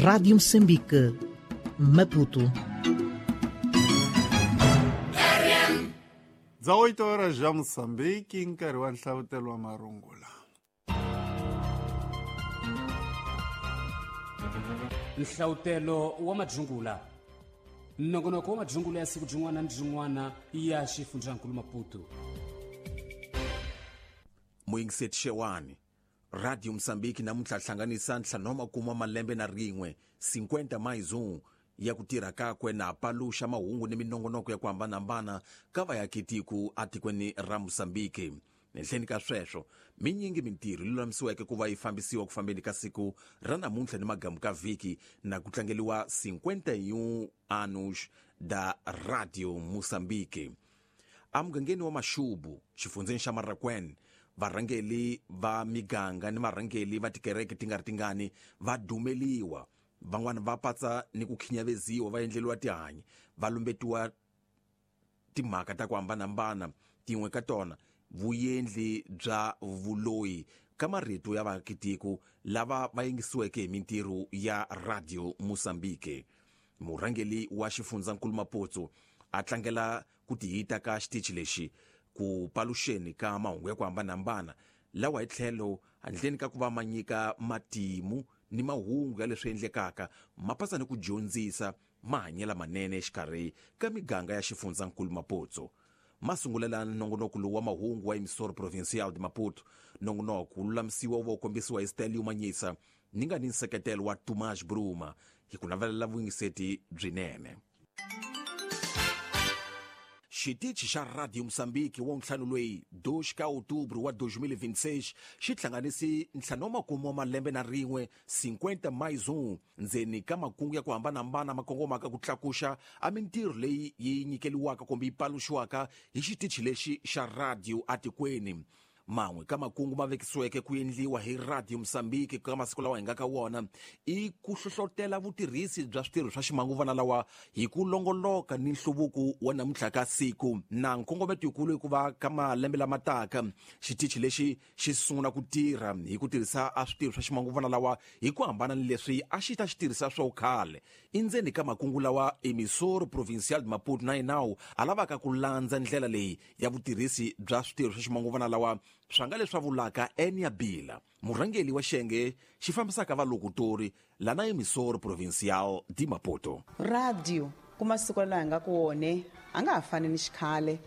Rádio Moçambique, Maputo. 18 horas já Moçambique, nkarhi wa nhlavutelo wa marungula. Nhlavutelo wa madzungula. Nongonoko wa madzungula ya siku byin'wana ni byin'wana ya xifundzankulu Maputo. Muyingiseti Xewani, Radio Mozambique namuntlha hlanganisa ntlhanu wa malembe na rin'we 50 mais 1 ya ku tirha kakwe na paluxa mahungu ni minongonoko ya ku hambanahambana ka vayakitiko atikweni ra Mozambique. Henhleni ka sweswo, minyingi mintirho yi lulamisiweke ku va yi fambisiwa ku fambeni ka siku ra namuntlha ni magamu ka vhiki na ku tlangeliwa 51 anos da Radio Mozambique. Amugangeni wa Mashubu, xifundzeni xa Marracuene, varhangeli va miganga ni varhangeli va tikereke ti nga ri tingani va dumeliwa, van'wana va patsa ni ku khinyaveziwa, va endleliwa tihanyi, va lumbetiwa timhaka ta ku hambanahambana, tin'we ka tona vuyendli bya vuloyi ka marito ya vaakitiko lava va yingisiweke hi mintirho ya Radio Mozambique. Murhangeli wa xifundzankulu Maputo a tlangela ku tihita ka xitichi lexi ku paluxeni ka mahungu ya ku hambanahambana lawa hi tlhelo handleni ka ku va ma nyika matimu ni mahungu ya leswi endlekaka, ma pasa ni ku dyondzisa mahanyelo manene exikarhi ka miganga ya xifundzankulu Maputo. Masungulela nongonoko lowu wa mahungu wa Emissora Provincial de Maputo. Nongonoko wu lulamisiwa wu va wu kombisiwa hi Stelio Manyisa ni nga ni nseketelo wa Tomás Bruma hi ku navelela vuyingiseti byinene. Xitichi xa Radio Mozambique wa ntlhanu loyi 2 ka Outubro wa 2026 xi hlanganisi ntlhanu wa makume wa malembe na rin'we 50 mais 1 ndzeni ka makungu ya ku hambanahambana ma kongomaka ku tlakuxa a mintirho leyi yi nyikeliwaka kumbe yi paluxiwaka hi xitichi lexi xa radio atikweni. Man'we ka makungu ma vekisiweke ku endliwa hi Radio Mozambique ka masiku lawa hi nga ka wona i ku hlohlotela vutirhisi bya switirho swa ximanguvana lawa hi ku longoloka ni nhluvuko wa namuntlha ka siku. Na nkongometo yikulu hikuva ka malembe lama taka xitichi lexi xi sungula ku tirha hi ku tirhisa a switirho swa ximanguvana lawa hi ku hambana ni leswi a xi ta xi tirhisa swo khale. Endzeni ka makungu lawa Emissora Provincial de Maputo na yinawu a lavaka ku landza ndlela leyi ya vutirhisi bya switirho swa ximanguvana lawa swa nga leswi vulaka Enia Bila, murhangeli wa xiyenge xi fambisaka valokutori lana Emissora Provincial de Maputo. Radio ku masiku lawa hi nga ku wone a nga ha fani ni xikhale,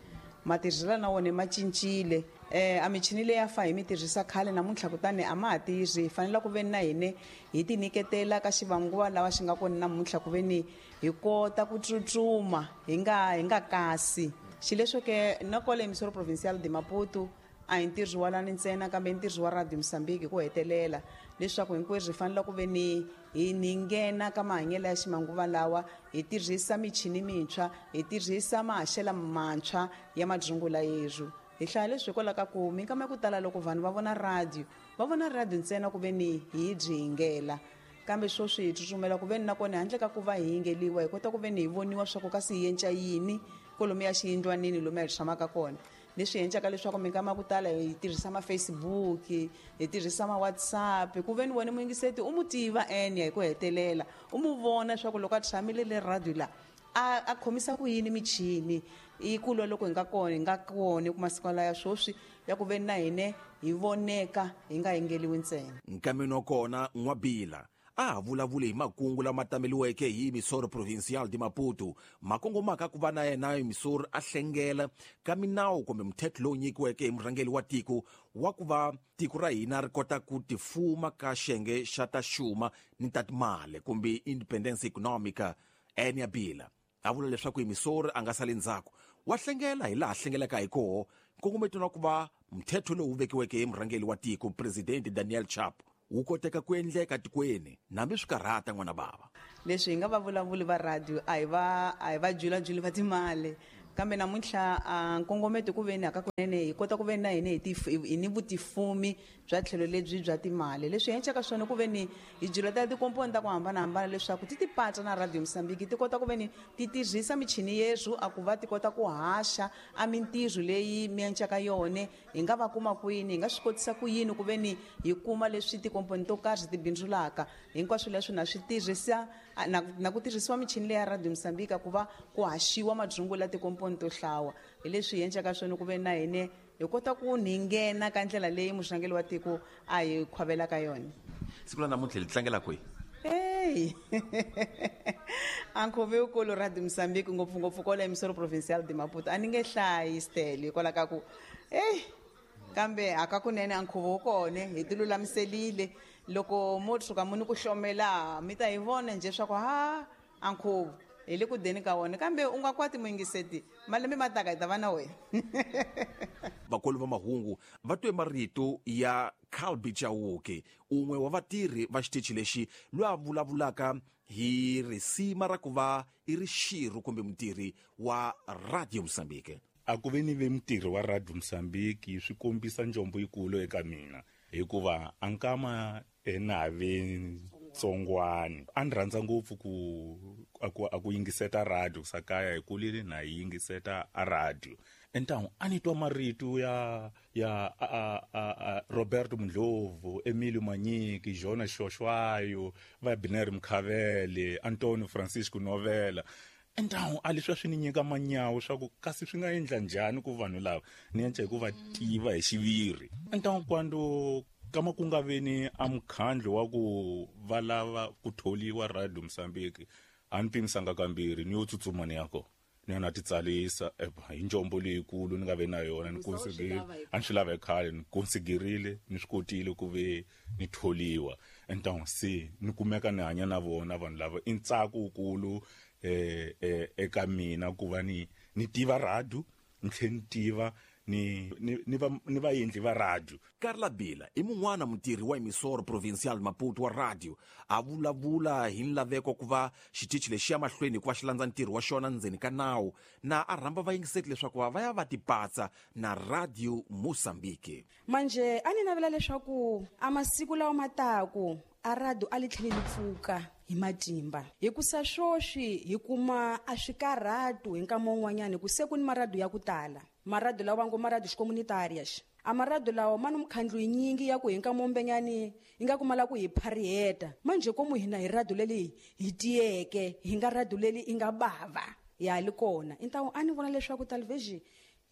matirhiselo na wona ma cincile. A michini leyi a fa hi mi tirhisa khale namuntlha kutani a ma ha tirhi. Hi fanele ku veni na hine hi ti nyiketela ka xivanguva lawa xi nga kona namuntlha ku veni hi kota ku tsutsuma hi nga kasi. Xileswo ke na kwale Emissora Provincial de Maputo a hi ntirho wa lani ntsena kambe ntirho wa Radio Mozambique ku hetelela leswaku hinkwerhu hi fanele ku veni hi nghena ka mahanyelo ya ximanguva lawa, hi tirhisa michini mintshwa, hi tirhisa mahaxelo mantshwa ya madzungula yerhu. Hi hlaya leswi hikwalaho ka ku minkama ya ku tala loko vanhu va vona radio, va vona radio ntsena ku veni hi byi yingela, kambe sweswi hi tsutsumela ku veni nakona handle ka ku va hi yingeliwa hi kota ku veni hi voniwa swa ku kasi hi yenca yini kwalomu ya xiyindlwanini lomu hi tshamaka kona. Leswi endlaka leswaku minkama ya ku tala hi tirhisa ma Facebook, hi tirhisa ma WhatsApp, ku veni wena muyingiseti u mu tiva ene hi ku hetelela u mu vona leswaku loko a tshamile le radio la a khomisa ku yini michini. I ku lwa loko hi nga kona ku masiku laya sweswi ya ku veni na hine hi voneka hi nga yingeliwi ntsena. Nkameni wa kona N'wabila a vulavule hi makungu lama tameliweke hi Emissora Provincial de Maputo, makongomaka ku va na yena Emissora a hlengela ka minawu kumbe mthetho lowu nyikiweke hi murhangeri wa tiko wa ku va tiko ra hina ri kota ku tifuma ka xiyenge xa ta xuma ni ta timali kumbe independence economica. Enia Bila a vula leswaku Emissora a nga sali ndzhaku, wa hlengela hi laha hlengelaka hi koho nkongometo na ku va mthetho lowu vekiweke hi murhangeri wa tiko President Daniel Chapo wu koteka ku endleka tikweni nambi swi karhata n'wana bava. Leswi hi nga va vulavuli va radio a hi va julajuli va timali, Kambe namuntlha a nkongometo ku veni aka kunene hi kota ku veni na hina hi ni vutifumi bya tlhelo lebyi bya timali. Leswi hi endlaka swona ku veni hi byela tikomponi ta ku hambanahambana leswaku ti tipatsa na Radio Mozambique, ti kota ku veni ti tirhisa michini yeswo a ku va ti kota ku haxa a mintirho leyi mi endlaka yona. Hi nga va kuma kwini, hi nga swi kotisa ku yini ku veni hi kuma leswi tikomponi to karhi ti bindzulaka. Hinkwaswo leswi na swi tirhisa na ku tirhisiwa michini leya Radio Mozambique ku va ku haxiwa madzungu la tikomponi to hlawa. Hi leswi hi endlaka swona ku ve na hina hi kota ku ni nghena ka ndlela leyi muxangeli wa tiko a hi khwavelaka yona. Siku la namuntlha li tlangela kwihi? Hey! A nkhuvo wukulu Radio Mozambique ngopfungopfu kwala Emissora Provincial de Maputo. A ni nge hlayi stele hikwalaho ka ku hey, kambe hakakunene a nkhuvo wu kona, hi ti lulamiselile. Loko mo tshuka mu ni ku hlomela mi ta hi vona njhe swa ku ha a nkhuvo hi le ku deni ka wona. Kambe u nga kwati muyingiseti, malembe ma taka hi ta va na wena. Vakulu va mahungu va twe marito ya Calbi Chauke, un'we wa vatirhi va xitichi lexi, loyi a vulavulaka hi risima ra ku va i ri xirho kumbe mutirhi wa Radio Mozambique. A ku ve ni ve mutirhi wa Radio Mozambique swi kombisa njombo yikulu eka mina, hikuva a nkama na ve ntsongwani a ni rhandza ngopfu ku yingiseta radio sakaya hi kulile na yi yingiseta a radio. Entangu a ni twa marito ya Roberto Mundlovu, Emilio Manyiki, Jonas Shoshwayo, va Biner Mkhavele, Antonio Francisco Novella. Entangu a leswi swi ni nyika manyawo swa ku kasi swi nga endla njhani ku vanhu lava ni endla hi ku va tiva hi xiviri. Entangu kwando kama ku nga veni a mukhandlu wa ku va lava ku tholiwa Radio Mozambique, a ni pimisanga kambirhi ni yo tsutsuma ni ya kona. Ni ya na titsalisa hi njombo leyikulu ni nga ve na yona, ni konsigerile a ni swi lava khale, ni konsigerile ni swi kotile ku ve ni tholiwa. Entangu se ni kumeka ni hanya na vona vanhu lava, i ntsako wukulu eka mina ku va ni tiva radio, ni tlhela ni tiva ni vaendli va radio. Carla Bila i mun'wana mutirhi wa Emissora Provincial Maputo wa radio, a vulavula hi nlaveko ku va xitichi lexi ya mahlweni hikuva xi landza ntirho wa xona ndzeni ka nawu, na a rhamba vayingiseti leswaku va ya va tipatsa na Radio Mozambique. Manje a ni navela leswaku a masiku lawa ma taku a radio a li tlhele li pfuka hi matimba, hikusa swoswi hi kuma a swikarhatu hi nkama wun'wanyani, ku se ku ni marado ya ku tala. Marado lawa va ngo marado xicomunitarias, a marado lawa ma ni mukhandlu yinyingi ya ku hi nkama wumbenyani yi nga kumala ku hi phariheta. Manje komu hina hi radio leli hi tiyeke, hi nga radio leli i nga bava ya li kona. Intawu a ni vona leswaku television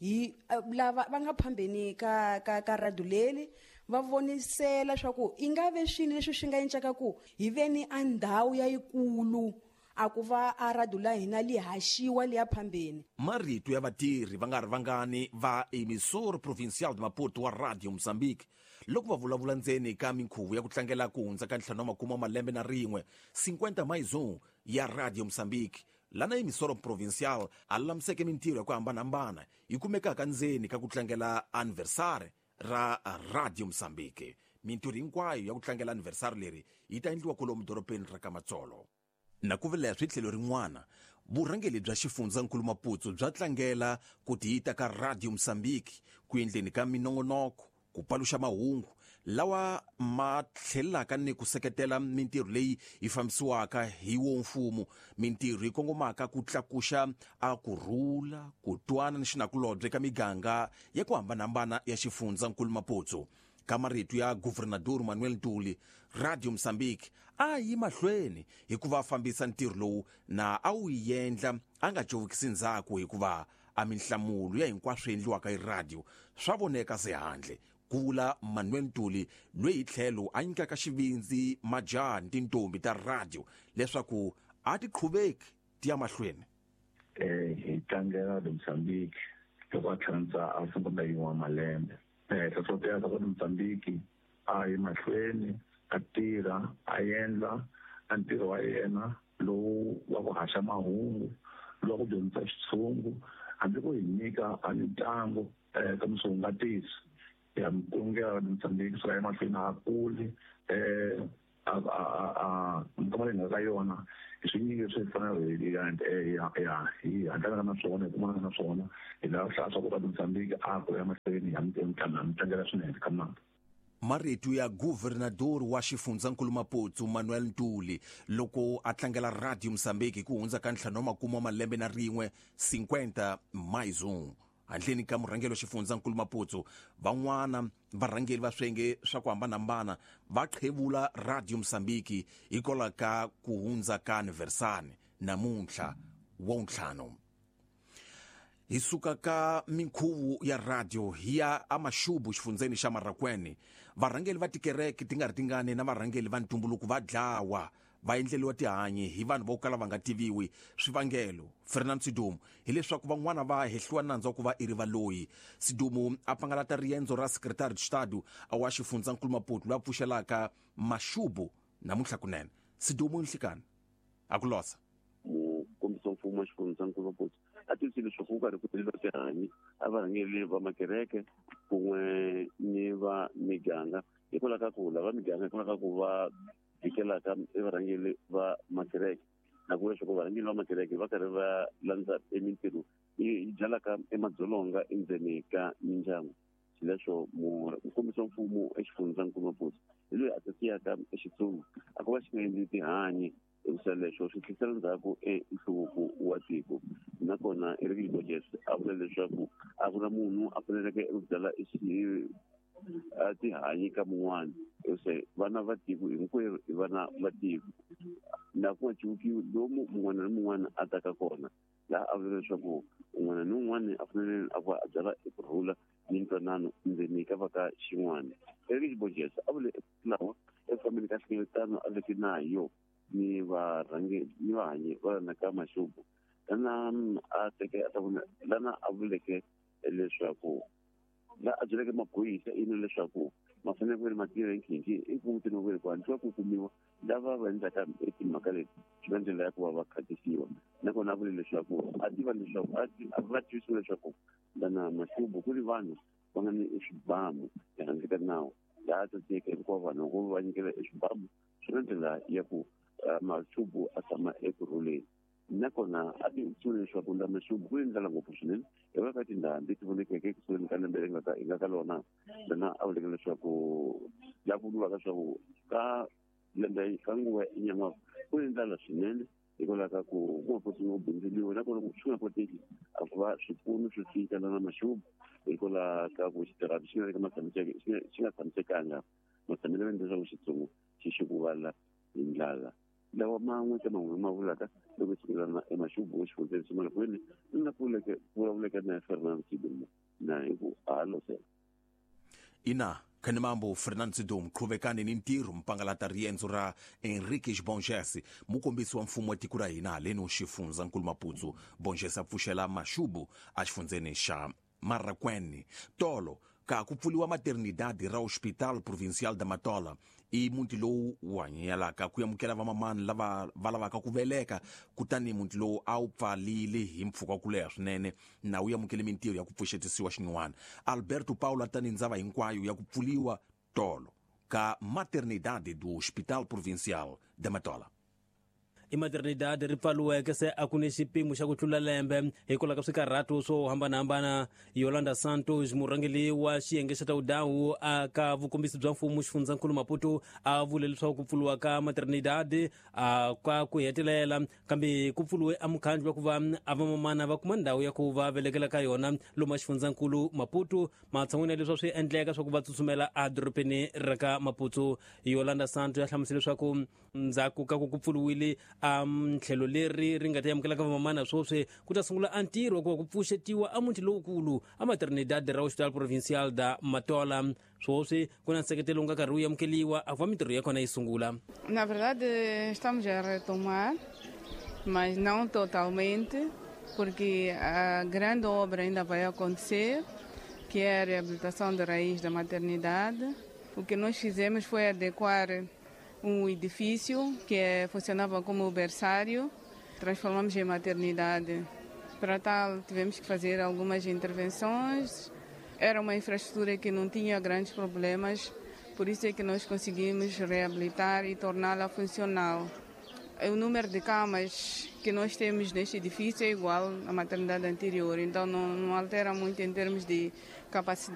hi lava va nga phambeni ka radio leli va vonisela swa ku i nga ve swini leswi swi nga endlaka ku hi veni a ndhawu ya yikulu a ku va a radio la hina li haxiwa liya phambeni. Marito ya vatirhi va nga ri vangani va Emissora Provincial de Maputo wa Radio Mozambique loko va vulavula ndzeni ka minkhuvo ya ku tlangela ku hundza ka 51 malembe na rin'we 50 mais 1 ya Radio Mozambique, lana Emissora Provincial a lulamiseke mintirho ya ku hambanahambana yi kumekaka ndzeni ka ku tlangela anniversary ra Radio Mozambique. Mintirho hinkwayo ya ku tlangela anniversary leri yi ta endliwa kwalomu dorobeni ra Kamatsolo. Na ku vula swi tlhelo rin'wana, vurhangeri bya xifundzankulu Maputo bya tlangela ku tiyita ka Radio Mozambique ku endleni ka minongonoko, ku paluxa mahungu lawa ma tlhelaka ni ku seketela mintirho leyi yi fambisiwaka hi wo mfumo, mintirho yi kongomaka ku tlakuxa a ku rhula, ku twana ni xinakulobye ka miganga ya ku hambanahambana ya xifundzankulu Maputo. Ka marito ya Governador Manuel Ntuli, Radio Mozambique a yi mahlweni hikuva a fambisa ntirho lowu na a wu endla a nga covukisi ndzhaku, hikuva a minhlamulo ya hinkwaswo endliwaka hi radio swa voneka se handle, ku vula Manuel Ntuli, loyi hi tlhelo a nyikaka xivindzi majaha ni tintombi ta radio leswaku a ti qhuveki ti ya mahlweni. Hi tlangela Radio Mozambique loko a tlhantlha a 51 malembe. Hlohlotela Radio Mozambique a yi mahlweni a tirha a endla a ntirho wa yena lowu wa ku haxa mahungu, lowu wa ku dyondzisa xitshungu, hambi ku hi nyika a mitlangu ka misongatisi ya mukongela Radio Mozambique swi ya emahlweni a kuli a Minkama leyi nga ka yona hi swinyingi leswi hi fanele hi hatlana na swona, hi kumana na swona. Hi lava ku hlaya swa ku Radio Mozambique a ku ya mahlweni ya mi tlangela swinene ka mnandzi. Marito ya governador wa xifundzankulu Maputo, Manuel Ntuli, loko a tlangela Radio Mozambique hi ku hundza ka 51 wa malembe na rin'we, 50 mais 1. Handleni ka murhangeri wa xifundzankulu Maputo, van'wana varhangeri va swiyenge swa ku hambanahambana va qhevula Radio Mozambique hikwalaho ka ku hundza ka aniversari namuntlha wa ntlhanu. Hi suka ka minkhuvo ya radio hi ya amashubu xifundzeni xa Marracuene. Varhangeri va tikereke ti nga ri tingani na varhangeri va ntumbuluko va dlawa, va endleliwa tihanyi hi vanhu vo kala va nga tiviwi. Swivangelo, Fernando Sidumo, hileswaku van'wana va hehliwa nandzu wa ku va i ri valoyi. Sidumo a pangalata riendzo ra secretary de estado wa xifundzankulu Maputo loyi a pfuxelaka Mashubu namuntlha kunene. Sidumo, nhlikani a ku losa. Mukombisi wa mfumo wa xifundzankulu Maputo a tivise leswaku ku karhi ku endliwa tihanyi a varhangeri va makereke kun'we ni va miganga, hikwalaho ka ku lava miganga, hikwalaho ka ku va vikelaka i varhangeri va makereke, na ku leswaku varhangeri va makereke va karhi va landza emintirho yi byalaka emadzolonga endzeni ka mindyangu. Xileswo mukombisi wa mfumo exifundzankulu Maputo hi loyi a siyaka exitsunga a ku va xi nga endli tihanyi, hikusa leswo swi tlhisela ndzhaku enhluvuko wa tiko. Nakona Eric Borges a vula leswaku a ku na munhu a faneleke ku byala tihanyi ka mun'wana, hikusa vana va tiko hinkwerhu i vana va tiko, na ku nga civukiwi lomu mun'wana na mun'wana a taka kona. Laha a vula leswaku un'wana ni un'wana a fanele a va a byala ekurhula ni ntwanano ndzeni ka va ka xin'wana. Eric Borges a vule lawa eku fambeni ka nhlengeletano a veke nayo ni varhangeri ni vahanyi va na ka Mashubu, lana a teke a ta vona, lana a vuleke leswaku la a byeleke maphorisa ino leswaku ma fanele ku ri ma tirha hi nkhinkhi i ku mutini wa ku hatlisa ku kumiwa lava va endlaka timhaka leti, swi va ndlela ya ku va va khatisiwa. Nakona a vule leswaku a tiva leswaku a va tivisiwa leswaku lana Mashubu ku ri vanhu va nga ni swibamu ehandle ka nawu, laha tsatseke hinkwavo vanhu ku va nyikela eswibamu swi na ndlela ya ku Mashubu a tshama ekurhuleni. Nakona a tivisiwe leswaku la Mashubu ku ni ndlala ngopfu swinene hikwalaho ka tindhambi ti vonekeke ekusuhani ka lembe leri nga hi nga ka lona, lana a vuleke leswaku la ku vuriwaka leswaku ka lembe ka nguva ya nyan'waka ku ni ndlala swinene, hikwalaho ka ku ku nga koti ku bindzuriwa, nakona swi nga koteki a ku va swipfuno swi fika lana Mashubu, hikwalaho ka ku xitirhati xi nga le ka xi nga tshamisekanga matshamelo ya leswaku xitsongo xi xikuvala hi ndlala. Lawa man'we ka man'we ma vulaka loko sikulana eMaxubu exifundzeni xa Malakwini na pfuleke vulavuleke na Fernando Sidumo na hi ku halosela. Ina khanimambo Fernando Sidumo, qhuvekani ni ntirho mpangalata riendzo ra Enrique Bonges, mukombisi wa mfumo wa tiko ra hina haleni xifundzankulu Maputo. Bonges a pfuxela Mashubu exifundzeni xa Marracuene. Tolo ka ku pfuliwa maternidade ra Hospital Provincial da Matola, i muti lowu wu hanyelaka ku amukela vamamani lava va lavaka ku veleka. Kutani muti lowu a wu pfalile hi mpfhuka wa ku leha swinene, na wu amukele mintirho ya ku pfuxetisiwa xin'wana. Alberto Paulo tani ndzava hinkwayo ya ku pfuliwa tolo ka maternidade do Hospital Provincial da Matola. I maternidade ri pfaliweke se a ku ni xipimo xa ku tlula lembe hikwalaho ka swikarhato swo hambanahambana. Yolanda Santos, murhangeri wa xiyenge xa tawudawu a ka vukombisi bya mfumo xifundzankulu Maputo, a vule leswaku ku pfuriwa ka maternidade a ka ku hetelela, kambe ku pfuriwe a mukhandlu wa ku va a vamamana va kuma ndhawu ya ku va velekela ka yona lomu xifundzankulu Maputo, matshan'wini ya leswi swi endleka swa ku va tsutsumela edorobeni ra ka Maputo. Yolanda Santos ya hlamusela leswaku ndzhaku ka ku ku pfuriwile a tlhelo leri ri nga ta amukelaka vamamana, swoswi ku ta sungula a ntirho wa ku va ku pfuxetiwa a muti lowukulu a maternidade ra Hospital Provincial da Matola. Swoswi ku na nseketelo wu nga karhi wu amukeliwa a ku va mintirho ya kona yi sungula. Na verdade, estamos a retomar, mas não totalmente, porque a grande obra ainda vai acontecer, que é a reabilitação da raiz da maternidade. O que nós fizemos foi adequar um edifício que funcionava como berçário, transformamos em maternidade. Para tal, tivemos que fazer algumas intervenções. Era uma infraestrutura que não tinha grandes problemas, por isso é que nós conseguimos reabilitar e torná-la funcional. O número de camas que nós temos neste edifício é igual à maternidade anterior, então não altera muito em termos de capacidade.